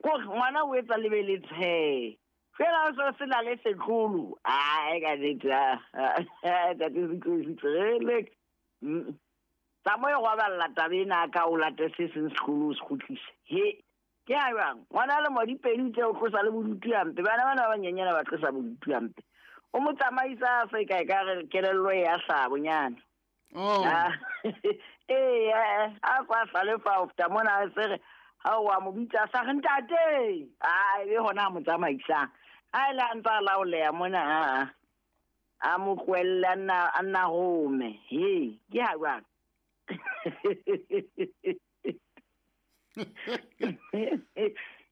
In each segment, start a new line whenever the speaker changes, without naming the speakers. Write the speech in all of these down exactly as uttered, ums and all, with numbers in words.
Ko ngwana o etsa lebe le tshe. Fela o se na le setlolo. Ai ka nnete. Ntate six oh six. Tsamaya go balla taba ena ka o late se seng setlolo se kgutlise. He. Ke a jwang? Ngwana le mo dipedi tse o tlosa le bodutu hampe. Bana bana ba banyenyana ba tlosa bodutu hampe. O mo tsamaisa se kae ka re kelello ya hlabonyana.
Oh.
Eh, a kwa hlalefa ofta mona se re ha wa mo bitsa sa re ntate. Ai be hona mo tsamaisa. A ile a ntsa laoleya mona a a mo kwella nna a nna home. He, ke ha jwang?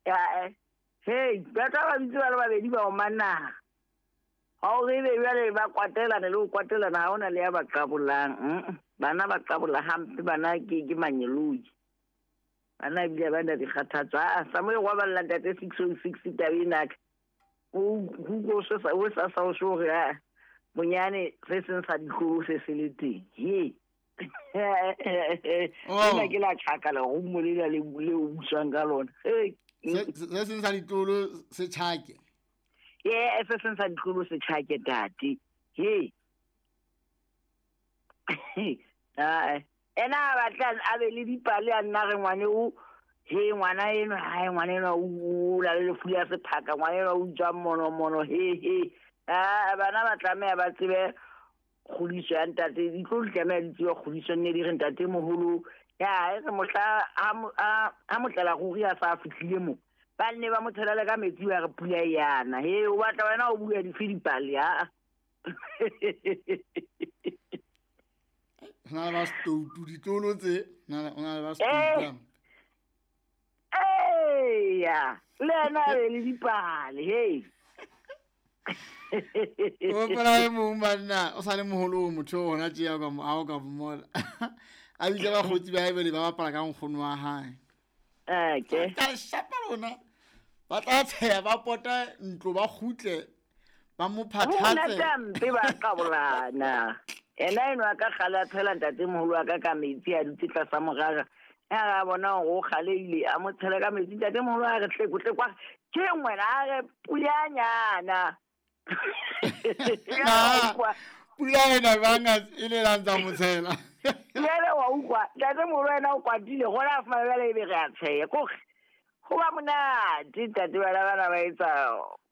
Ya, hey, ba tla ba bitsa ba le babedi ba o manna. Ha o re be jwale ba kwatelana le ho kwatelana ha ona le ya ba qabolang. Bana ba qabola hampe bana ke ke manyeloi. Bana ebile ba na dikgathatso. Ah, Samuel wa balla ntate six oh six taba ena. O go se sa o sa sa o so re a bonyane se seng sa ditlolo se se le teng. He. Nna ke la tjhaka le go mo le le le o busang ka lona. Hey.
Se seng sa ditlolo se tjhake.
Ye se seng sa ditlolo se tjhake tate. He. Ah, ena ba tla a be le dipale a nna re ngwane o he ngwana eno ha ngwana eno o la le lefu ya sephaka ngwana eno o tswa mono mono he he. Ah, bana ba tlameha ba tsebe kgodiso ya ntate ditlolo di tlameha di tsebe kgodiso nne di re ntate moholo ya e re mohla ha motlela ruri a sa fihlile mo ba nne ba mo tshela ka metsi ba re pula yana he o batla wena o bua dife dipale ha
na ba stoutu ditlolo tse na na ba stoutu
eh ya le na le dipale he
o pela e mong banna o sa le moholo o motho hona tje ya ka mo a o ka mmola a bitsa ba kgotsi ba ebele ba bapala ka nkgono wa hae.
Okay.
Ka shapa lona ba tla tsheya ba pota ntlo ba kgutle ba mo phathatse.
Ho mpe ba qabolana. Ena eno a ka kgale a tshela ntate moholo wa ka ka metsi a dutse tlasa morara. Ya ra bona hore o kgaleile a mo tshela ka metsi ntate moholo a re tleko tleko ke ngwena a re pulanyana.
Pula ena banga e le la ntsa mo tshela.
Jwale wa utlwa ntate moholo wena o kwatile gona a fumana jwale ebe re a tsheya kore ho ba monate ntate bana bana ba etsa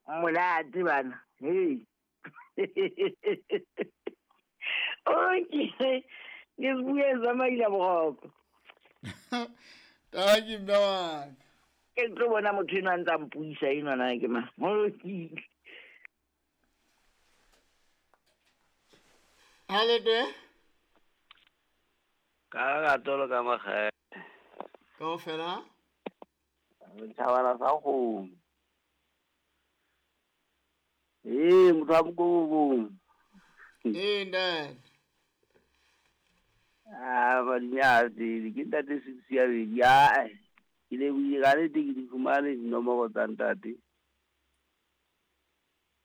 monate bana. Hey. Okay. Ke bue tsamaile boroko.
Thank you mme wa.
Ke tlo bona motho eno a ntsa mpuisa eno na ke ma. Molokile.
Halete.
Ka rato ka magae.
Kaofela?
Thabana sa go. Eh, motho wa Mokobong.
Eh, ntate.
Ah, ba dinyatse, ke ntate six ya bedi. Ah, ke le buile ka nnete ke di fumane dinomoro tsa ntate.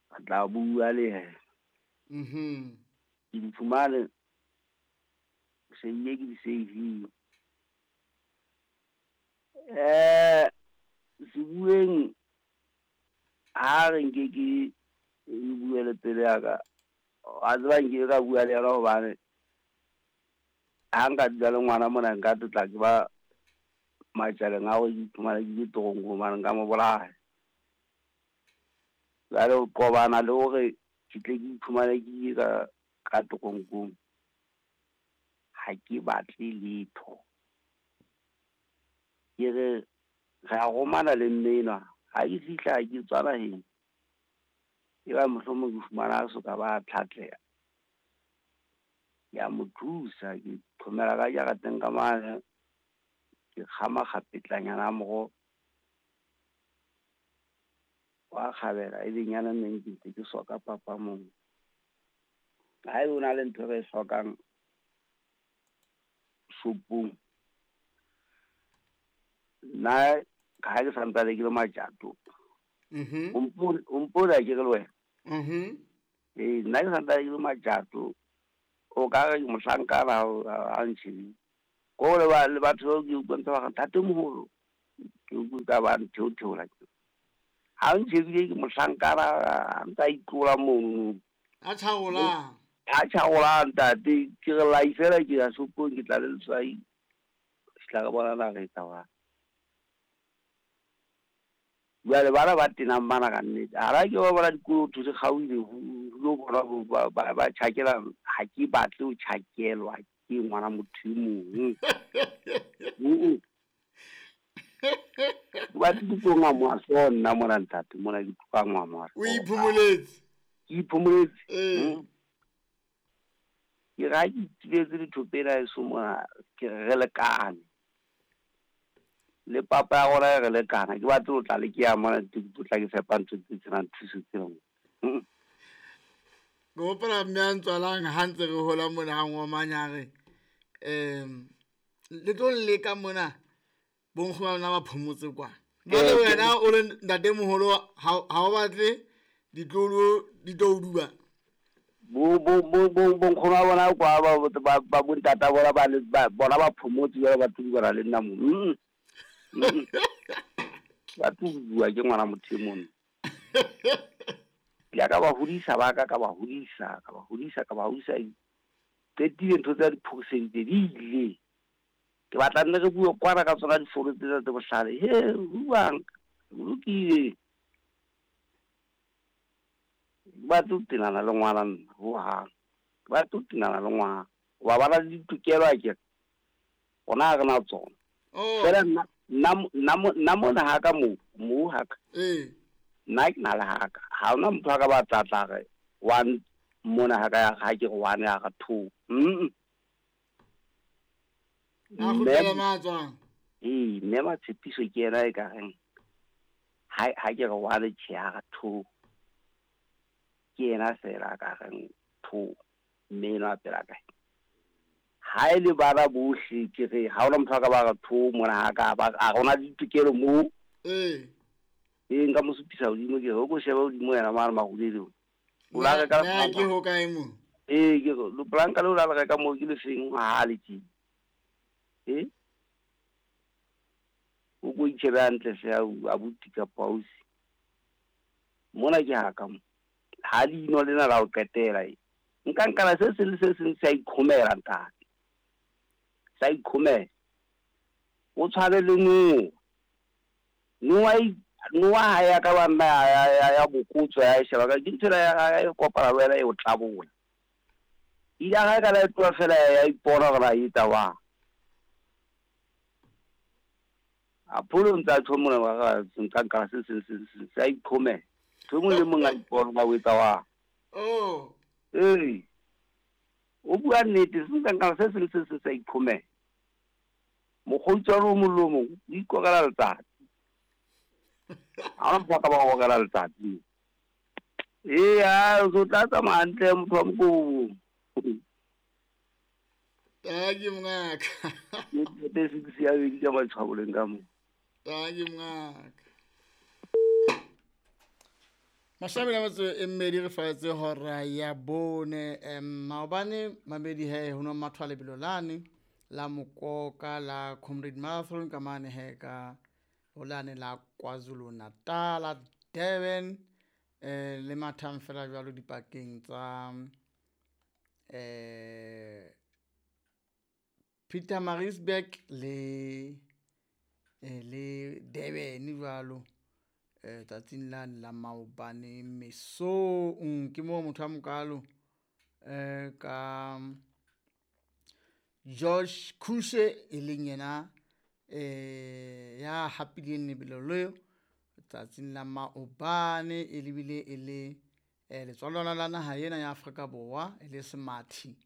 Ka tla bua le yena.
Mhm.
Ke di fumane se ile ke di save. Eh, sebueng ha re nke ke e bue le pele ya ka. A tseba nke ka bua le yena hobane ha nka dula le ngwana mona nka tla ke ba matjaleng a go iphumana ke le toronko mane nka mo bolaya. Jwale ho qobana le hore ke tle ke iphumane ke ile ka ka toronkong ha ke batle letho. Ke re re a romana le mme enwa ha ke fihla ke tswa naheng e ba mohlomong ke fumana a soka ba tlhatleha. Ke a mo thusa ke thomela ka jarateng ka mane ke kgama kgapetlanyana a moroho wa kgabela e benyana neng ke ntse ke soka papa mong. Ha ebe o na le ntho e re e hlokang shopong nna ha ke santsane ke le matjato.
Mhm.
O mpona ke re le wena.
Mhm.
Eh, nna ke santsane ke le matjato. O ka re mohlankana ha ntshebile. Ko le ba le batho ke utlwa ntse ba re ntate moholo. Ke utlwe ka ba ntheotheola ke. Ha o ntshebile ke mohlankana a ntsa itlola mono.
A tjhaola.
A tjhaola ntate ke re lai fela ke ya shopong ke tla le letswai. Tla re bona na re etsa wa. Jwale bana ba tenang bana ka nnete. Ha ra ke ba bona dikolo thuse kgaohile ho lo bona ba ba ba tjhakela ha ke batle ho tjhakelwa ke ngwana motho e mong. Ba tlo ngwa so nna mona ntate mona ke tloka ngwa mo.
O iphumoletse.
Ke iphumoletse.
Eh.
Ke ra ke tibetse dithopela e so mona ke re lekane. Le papa ya rona re lekana ke batla ho tla le ke ya mona ke tla ke fepa ntho tse tsenang thuso tsena.
Ke hopola mme a ntswalang ha ntse re hola mona ha ngomanya re em le tlo leka mona bonkgono ba lona ba phomotse kwa. Jwale wena o le ntatemoholo ha ha o batle ditlolo di tlo o duba.
Bo bo bo bo bonkgono ba bona kwa ba ba ba bontata bona ba ba bona ba phomotse jwale ba tlo le nna mo. Ba tlo bua ke ngwana motho e mong. Ya ka ba hodisa ba ka ka ba hodisa ka ba hodisa ka ba hodisa qetile ntho tsa diphosente di ile. Ke batla nne re bue kwana ka tsona difono tsena tse bohlale. He buang lokile. Ba tlo tenana le ngwana nna ho hang. Ba tlo tenana le ngwana. Ba bana le ditokelo a ke. Ona re na tsona. Fela nna nna nna mona ha ka mo mo ha ka.
Eh.
Nna ke na le ha ka. Ha ona motho a ka ba tla tla re one mona ha ka ya ha ke re one ya ka two. Mm.
A kgutlela matswang.
Eh, mme Matshepiso ke yena e ka reng ha ha ke re one tjhe ya ka two. Ke yena fela ka reng two mme eno a pela kae. Ha e le bana bohle ke re ha ona motho a ka ba re two mona ha ka ba a rona ditokelo mo.
Eh.
E nka mo supisa hodimo ke re o ko shebe hodimo yena mane marulelong. O la reka
Na ke ho kae mo?
Eh ke re lo planka le o la reka mo ke le seng ha le tje. Eh? O ko itshebe hantle se a abuti ka pausi. Mona ke ha ka mo. Ha leino lena la o qetela e. Nka nkana se seng le se seng se a ikhomela ntate. Sa ikhomela. O tshwane le no. Noa noa ha ya ka ba nna ya ya ya bokotswa ya sheba ka ke ntho ya ya kopana le wena e o tlabola. Ile ga ka la tloa fela ya ipona gore a etsa wa. A pholo ntsa tho mona wa ga nka nka se se se se sa ikhomela. Tho mong le mong a ipona ba o etsa wa.
Oh.
Eh. O bua nnete se nka nka se se se se sa ikhomela. Mokgotsi wa molomo o ikokela letsatsi. Ha ona motho a ka ba okela letsatsi. Eh a o tla tsamaya hantle motho wa mokobo.
Thank you mongaka.
Ke te six ya bedi ka matshwaboleng ka mo.
Thank you mongaka. Mashabela motse e mmedi re faetse hora ya bone em maobane mabedi he ho no mathwa lebelo lane la Mokoka la Comrade Marathon ka mane he ka holane la KwaZulu Natal Durban eh le mathang fela jwalo dipakeng tsa eh Pietermaritzburg le eh, le Durban jwalo eh tsatsing lane la maobane mesong ke mo motho a mokalo eh ka George Kushe e leng yena eh ya hapileng lebelo leo tsatsing la maobane e lebile e le eh letswalo la naha ena ya Afrika Borwa e le semathi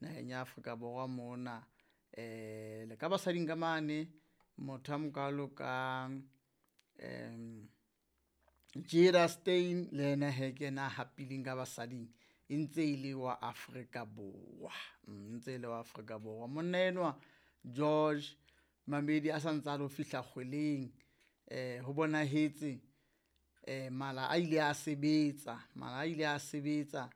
naheng ya Afrika Borwa mona eh le ka basading ka mane motho a mokalo ka em Jada Stein le yena he ke yena hapileng ka basading e ntse e le wa Afrika Borwa ntse e le wa Afrika Borwa monna enwa George Mamedi a santsa lo fihla kgweleng eh ho bonahetse eh mala a ile a sebetsa mala a ile a sebetsa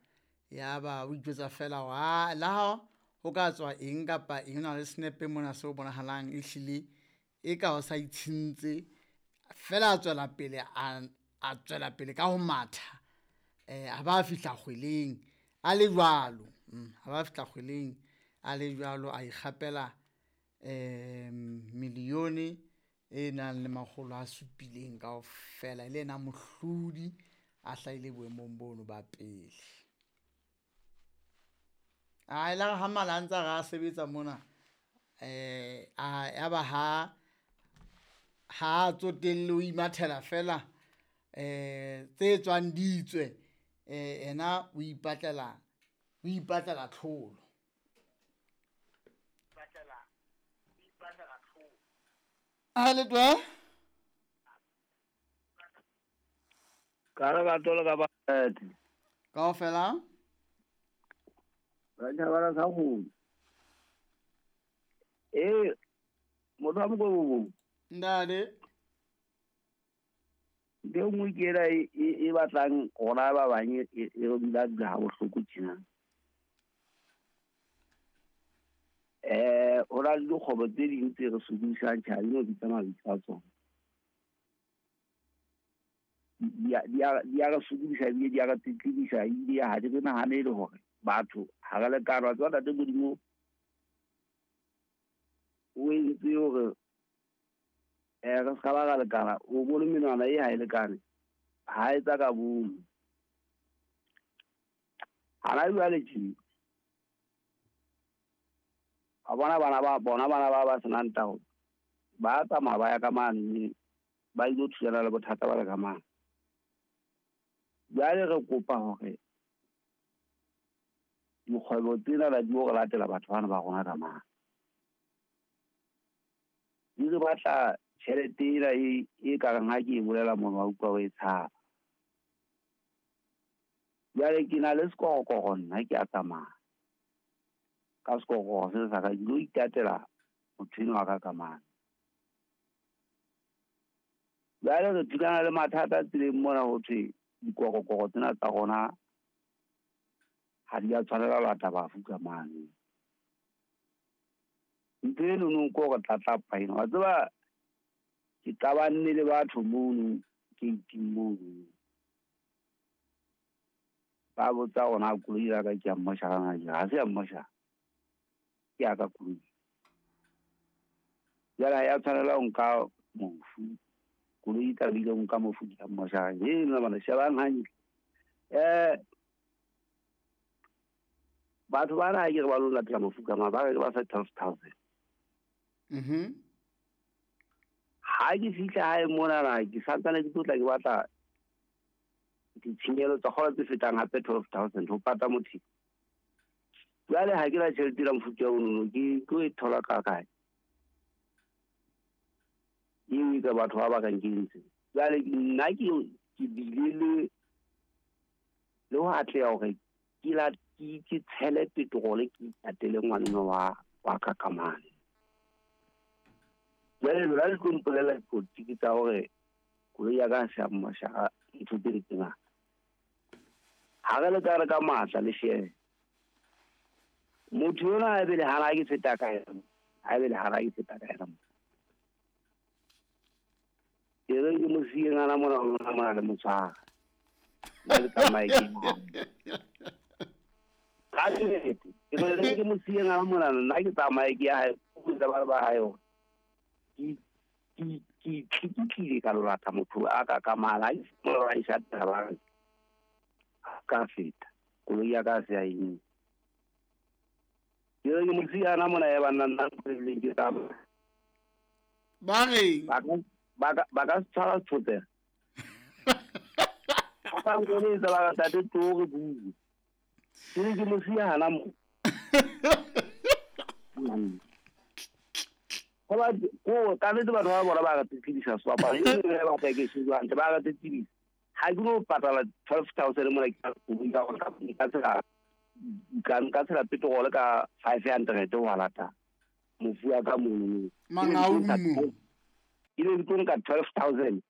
ya ba o ijwetsa fela wa la ho ka tswa eng kapa eng na le snepe mona se o bonahalang e hlile e ka o sa itshintse Fela a tswela pele a a tswela pele ka ho matha eh a ba fihla kgweleng a le jwalo a ba fihla kgweleng a le jwalo a ikgapela eh milione e nang le makgolo a supileng kaofela e le yena mohlodi a hlahile boemong bono ba pele. A e la ha mala a ntsa re a sebetsa mona eh a ya ba ha ha tsotelle o imathela fela eh tse tswang di tswe eh ena o ipatlela o ipatlela tlholo. Ipatlela ipatlela tlholo. A le twe
ka re ka tlola ka ba
kaofela
ba tjhabana sa go eh motho wa mokobo
ndale
ntho e nngwe ke ena e batlang rona ba bang e re dula dula ha bohloko tjena. Eh ho na le dikgwebo tse ding tse re sokodisang tjhe ha di no bitsa mabitso a tsona. Di a re sokodisa ebile di a re tletlebisa ebile ha di re nahanele hore batho ha re lekane. Wa tseba ntate Modimo o entse hore eh re ska ba ra lekana, o bone menwana e ha e lekane, ha etsa ka bomo. Hana jwale tje a bona bana ba bona bana ba ba senang tao ba tsamaya ba ya ka mane ba ilo thulana le bothata ba le ka mane. Jwale re kopa hore dikgwebo tsena la di ho re latela batho bana ba rona ka mane. Di re batla tjhelete ena e e ka reng ha ke e bolela mona wa utlwa o e tshaba. Jwale ke na le sekorokoro nna ke a tsamaya ka sekorokoro se sa ka ke lo itatela motho enwa wa ka ka mane. Jwale re thulana le mathata tseleng mona ho thwe dikorokoro tsena tsa rona ha di a tshwanela ho lata bafu ka mane. Ntho eno no ko re tlatlapa ena. Wa tseba ke qabanne le batho mono gate-ing mono. Ba botsa hore na koloi ya ka ke ya mmoshara na ke ha se ya mmoshara. Ke ya ka koloi. Jwale ha ya tshwanela ho nka mofu. Koloi e tlamehile ho nka mofu ke ya mmoshara. He nna bana shebang hantle. Eh batho bana ha ke re ba lo latela mofu ka mane ba re ba fa twelve thousand.
Mhm.
Ha ke fihla hae mona na ke santsane ke tlotla ke batla ditshenyehelo tsa kgolo tse fetang hape twelve thousand ho pata motho. Jwale ha ke na tjhelete ya mofuta ono ke tlo e thola ka kae? Eo ka batho ba ba ka nkentse. Jwale nna ke ke bile le le ho atleha hore ke la ke ke tshele petrol ke itatele ngwaneno wa wa ka ka mane. Jwale lona le tlo mpolela dipolotiki tsa hore koloi ya ka ha se ya mmoshara ntho tse tse ngata. Ha re le ka re ka matla le shebe. Motho yona ha ebe le hana ke feta ka yena. Ha ebe le hana ke feta ka yena. Ke re ke mo siye ngwana mona mona mona le motshwara. Nna le tsamaye ke ka nnete. Ke re ke mo siye ngwana mona nna ke tsamaye ke ya hae ba ba ba hae hore ke ke ke tlile ka lo lata motho a ka ka mala a mo ra isa taba ka feta koloi ya ka se ya eng. Ke re ke mo siya ngwana mona ya banna nna ke ke tsamaya.
Ba reng?
Ba ka ba ka ba ka tshwara tshotse. Ba nkoletsa ba ka tate tlo re bue. Ke re ke mo siya hana mo. Hoba ko ka nnete batho ba bona ba re tletlebisa sebapadi. E le ba batla ke se hantle ba re tletlebisa. Ha ke no patala twelve thousand mona ke koloi ka hore ka tshela ka nka tshela petrol ka five hundred ho lata mofu wa ka mono.
Mangaung.
Ke ne ke tlo nka twelve thousand.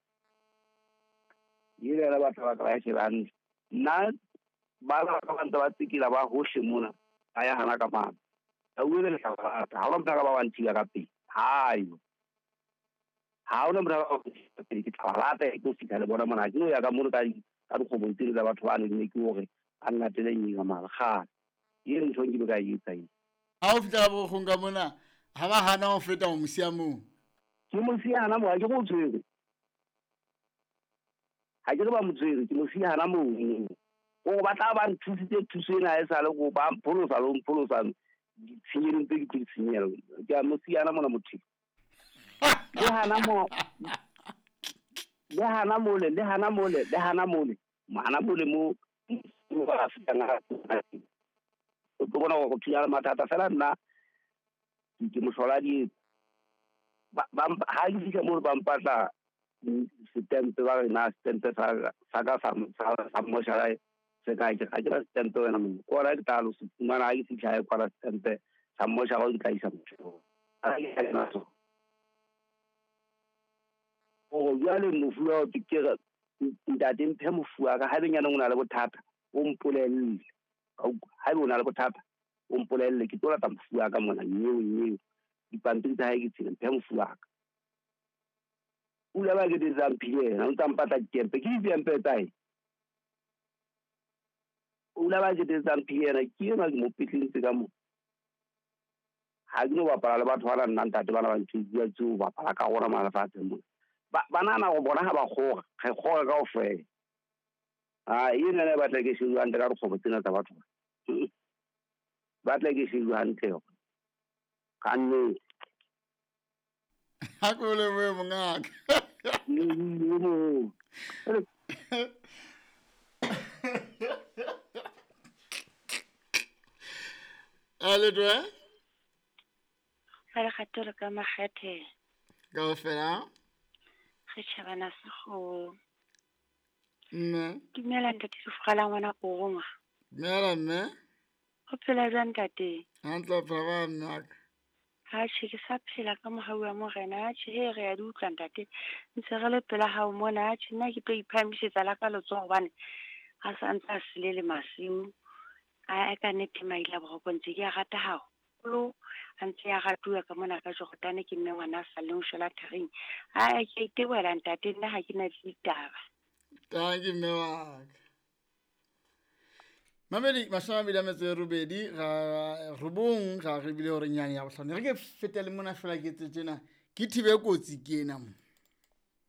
Ile la batho ba ka ba shebang. Nna ba ba ka ba ntse ba tsikila ba hohle mona ba ya hana ka mane. Ba uele lehlaba la ka. Ha ba mpha ka ba wa nthiba ka pele. Hayo. Ha hona motho a ke tla ba lata ke tlo fihla le bona mona. Ke no ya ka mono ka ka dikgobong tseno tsa batho ba ne ke hore a nnatele eng ka mara kgale. E ntho nke be ka e etsa eo.
Ha o fihla ka bokgong ka mona, ha ba hana ho feta o mo siya moo.
Ke mo siya hana moo, ha ke re o tshwere. Ha ke re ba mo tshwere, ke mo siya hana moo. Hore ba tla ba nthusitse thuso ena ha esale ko ba mpholosa le ho mpholosa ditshenyehelo tse ke tlo di tshenyehelo. Ke a mo siya hana mona motho. Le hana mo, le hana mole, le hana mole, le hana mole. Hana mole mo ba fihlang ha o tlo bona hore go thunya le mathata fela nna ke mohlola di ba ha ke fihla moo ba mpatla setempe ba re na setempe sa sa ka sa sa moshara se ka ke ga ke na setempe wena mo ko ra ke tla lo se fumana ha ke fihla e kwala setempe sa moshara o tla isa motho ha ke ke na so o jwale mofu wa ke re ntate mphe mofu wa ka ha benyana o na le bothata o mpolelle ha o na le bothata o mpolelle ke tlo lata mofu wa ka mona nyeo nyeo dipampiri tsa hae ke tsena mphe mofu wa ka o ile ba ke tsa mphile yena o ntsa mpatla ditempe ke ditempe tsa hae o ile ba ke tsa mphile yena ke yena ke mo pitlintse ka mo ha ke no bapala le batho ba nna ntate bana ba ntse bua tseo bapala ka rona malefatsheng mona ba nahana go bona ha ba kgora re kgora kaofela. Ah, ena ne batla ke shejwe hantle ka dikgomo tsena tsa batho. Batla ke shejwe hantle ka nnete.
Ha ko le boe mongaka. Ale dwe?
Ga re kgatole ka makgethe.
Kaofela?
Re tjhabana sekgowa.
Mme.
Dumela ntate Sefrala ngwana Koroma.
Dumela mme.
O phela jwang ntate?
Hantle o phela ba mme wa ka.
Atjhe ke sa phela ka mohau wa morena. Atjhe he re a di utlwa ntate. Ntse re le pela hao mona. Atjhe nna ke tlo iphahamisetsa la ka letsoho hobane a sa ntse a sele le masiu. A ka nnete maile a boroko ntse ke a rata haholo. A ntse a ratuwa ka mona ka Jordan ke mme ngwana a sa leng shwela tharing. A ke itebohela ntate nna ha ke na le ditaba.
Tanki mme wa ka. Mamedi mashome a mabedi a metso e robedi ga robong ga re bile hore nyane ya bohlano. Re ke fetele mona fela ke tse tjena ke thibe kotsi ke ena mo.